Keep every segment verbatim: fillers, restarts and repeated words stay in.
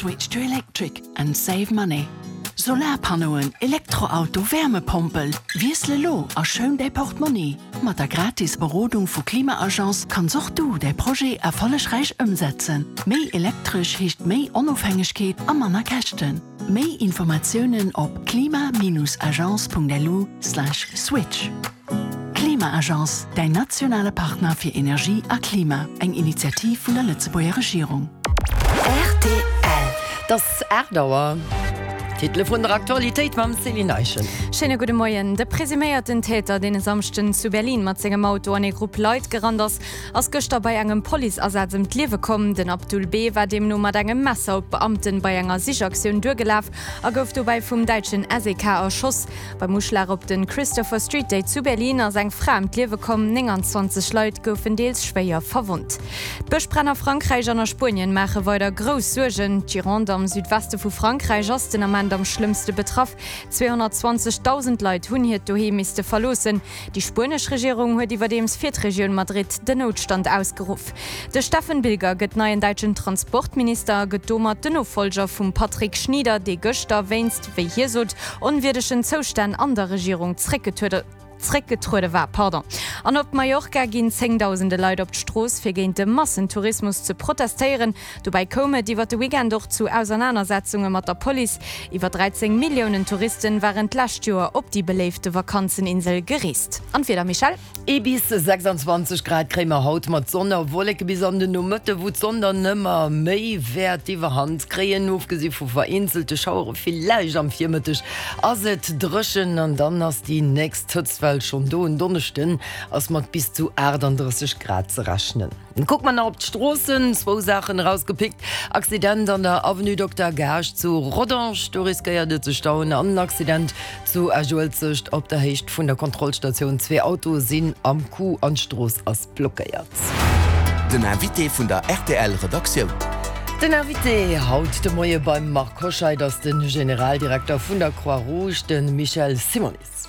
Switch to electric and save money. Solarpannoen, Elektroauto, Wärmepompel, Wiessel elo a schoun däi Portmonni. Mat der gratis Berodung vu Klima-Agence kanns och du däi Projet erfollegräich ëmsetzen. Méi elektresch heescht méi Onofhängegkeet a manner Käschten. Méi Informatiounen op klima-agence.lu slash switch. Klima-Agence, däin nationale Partner fir Energie a Klima. Eng Initiativ vun der Lëtzebuerger Regierung. Rtl. Et ass aacht Auer. D'Titele vun der Aktualitéit mam Céline Eischen. Schéine gudde Moien. De presuméierten Täter, deen e Samschden zu Berlin mat sengem Auto an ee Grupp Leit gerannt ass, ass gëschter bei engem Policeasaz ëm d'Liewe komm. Den Abdul B. war deemno mat engem Messer op d'Beamten bei enger Sichaktioun duergelaf a gouf dobäi vum däitschen S E K erschoss. Beim Uschlag op de Christopher Street Day zu Berlin ass eng Fra ëm d'Liewe komm, nénganzwanzeg Leit goufen deels schwéier verwonnt. D'Bëschbränn a Frankräich an a Spuenien maache weider grouss Suergen. D'Gironde am Südweste vu Frankräich ass den Ament am schlëmmste betraff. Zweehonnertzwanzegdausend Leit hunn hiert Doheem misste verloossen. Déi spuenesch Regierung huet iwwerdeems fir d'Regioun Madrid den Noutstand ausgeruff. De Steffen Bilger gëtt neien däitschen Transportminister a gëtt domat den Nofollger vum Patrick Schnieder, dee gëschter wéinst, wéi hie sot, onwierdegen Zoustänn an der Regierung zréckgetruede war. An op Mallorca ginn zéngdausende Leit op d'Strooss, fir géint de Massentourismus ze protestéieren. Dobäi koum et iwwer de Weekend och zu Ausernanersetzunge mat der Police. Iwwer dräizéng Milliounen Touristen waren d'lescht Joer op déi beléifte Vakanzeninsel gereest. An d'Wieder, Michèle? Ee bis sechsandzwanzeg Grad kréie mer haut mat Sonn a Wolleke bis an den Nomëtte, wou d'Sonn dann ëmmer méi wäert d'Iwwerhand kréien. Ofgesi vu vereenzelte Schauere villäicht am Virmëtteg ass et dréchen an dann ass déi nächst Hëtztwell schonn do. En Donneschden ass mat bis zu achtandrësseg Grad ze rechnen. Kucke mer nach op d'Stroossen, zwou Saachen erausgepickt, Accident an der Avenue Dokter Gaasch zu Rodange, do riskéiert et ze stauen an en Accident zu Esch-Uelzecht op der Héicht vun der Kontrollstatioun. Zwee Autoe sinn am Coup an d'Strooss ass blockéiert. Den Invité vun der R T L Redaktioun. Den Invité haut de Moie beim Marc Hoscheid ass de Generaldirekter vun der Croix-Rouge, de Michel Simonis.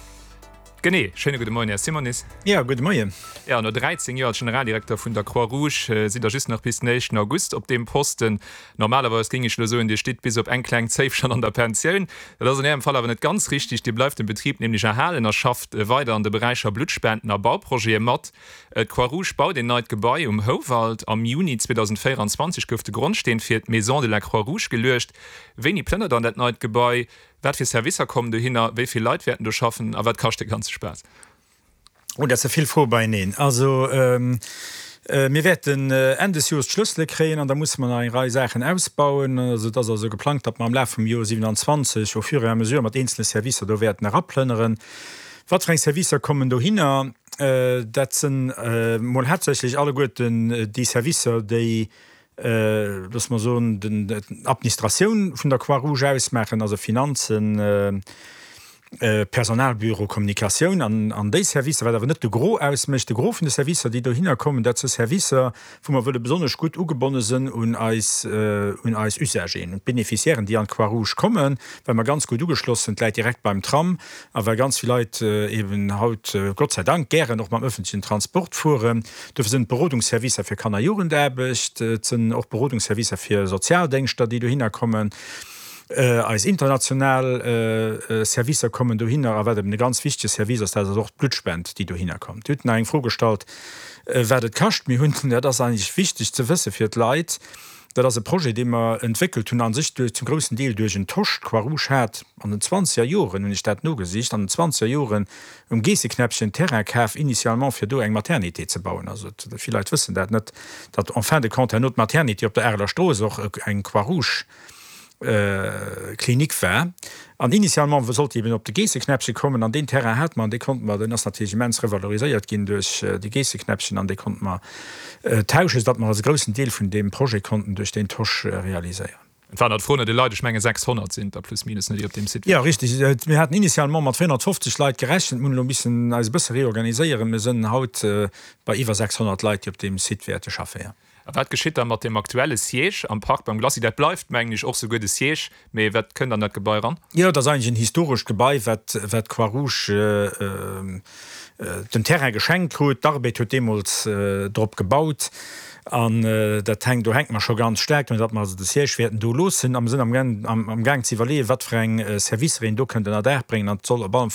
Genee, schéine gudde Moien, Här Simonis. Jo, gudde Moien. Jo, no dräizéng Joer als Generaldirekter vun der Croix-Rouge sidd Der just nach bis den éischten August op deem Posten. Normalerweis géing ech elo soen, Dir stitt bis op eng kleng Zéif schonn an der Pensioun. Dat ass an Ärem Fall awer net ganz richtig. Dir bleift dem Betrib nämlech erhalen a schafft weider an de Beräicher Bluttspenden a Bauprojete mat. D'Croix-Rouge baut een neit Gebai um Houwald. Am Juni zweedausendvéieranzwanzeg gouf de Grondsteen fir d'Maison de la Croix-Rouge geluecht. Wéini plënnert Der an dat neit Gebai? Wat fir Servicer kommen dohinner, wéi vill Leit wäerten do schaffen a wat kascht dee ganze Spaass? Oh, dat si vill Froe beieneen. Also, mir wäerten Enn des Joers d'Schlëssele kréien an da musse mer nach eng Rei Saachen ausbauen. Also, et ass also geplangt, datt mer am Laf vum Joer siewenanzwanzeg au fur et à mesure mat eenzele Servicer do wäerten eraplënneren. Wat fir eng Servicer kommen dohinner? Dat sinn mol haaptsächlech alleguerten déi Servicer, déi, loosse mer soen, d'Administratioun vun der Croix-Rouge ausmaachen, also Finanzen, Personalbüro, Kommunikatioun an déi Servicer, wat awer net de Gros ausmécht. De Gros vun de Servicer, déi dohinner kommen, dat si Servicer, wou mer wëlle besonnesch gutt ugebonne sinn un eis, un eis Usageren, un d'Beneficiairen, déi an d'Croix-Rouge kommen, well mer ganz gutt ugeschloss sinn, d'Leit direkt beim Tram a well ganz vill Leit eben haut, Gott sei Dank, gären och mam öffentlichen Transport fueren. Dofir sinn et Berodungsservicer fir Kanner Jugendaarbecht, et sinn och Berodungsservicer fir Sozialdéngschter, déi dohinner kommen. Eis international Servicer kommen dohinner. A wat eben e ganz wichtege Service ass, dat ass och d'Bluttspend, déi dohinner kommt. Dir hutt nach eng Fro gestallt, wat et kascht. Mir hunn, dat ass eigentlech wichteg ze wësse fir d'Leit, dat ass e Projet, dee mer entwéckelt hunn a sech duerch, zum groussen Deel duerch en Tosch. D'Croix-Rouge hat an den zwanzeger Joren, hunn ech dat nogesicht, an den zwanzeger Joren um Geesseknäppchen Terrain kaf, initialement fir do eng Maternité ze bauen. Also vill Leit wëssen dat net, datt en fin de compte herno d'Maternité op der Areler Strooss och eng Croix-Rouge Klinik war. An initialement sollt déi eben op de Geesseknäppche kommen an deen Terrain hate mer an dee konnte mer, deen ass natierlech immens revaloriséiert ginn duerch de Geesseknäppchen an dee konnte mer tauschen, soudatt mer also e groussen Deel vun deem Projet konnten duerch deen Tosch realiséieren. Et waren der d'Fro no de Leit, ech menge sechshonnert sinn der plus minus, ne, déi op deem Site Jo, richtig. Mir haten initialement mat véierhonnertfofzeg Leit gerechent, mir hunn elo missen eis e bësse reorganiséieren. Mir sënn haut bei iwwer sechshonnert Leit, déi op deem Site wäerte schaffen, jo. A wat geschitt da mat deem aktuelle Siège am Park beim Glacis? Dat bleift, mengen ech, och souguer de Siège, mee wat kënnt an dat Gebai eran? Jo, dat ass eigentlech en historescht Gebai, wat wat d'Croix-Rouge den Terrain geschenkt krut. D'Arbed huet deemools drop gebaut an dat hänkt, do hänke mer scho ganz staark drun, datt mer also de Siège wäerten do loossen. A mer sinn amgaang ze iwwerleeën, wat fir eng Servicer een do kënnt ënner Daach bréngen an et soll op alle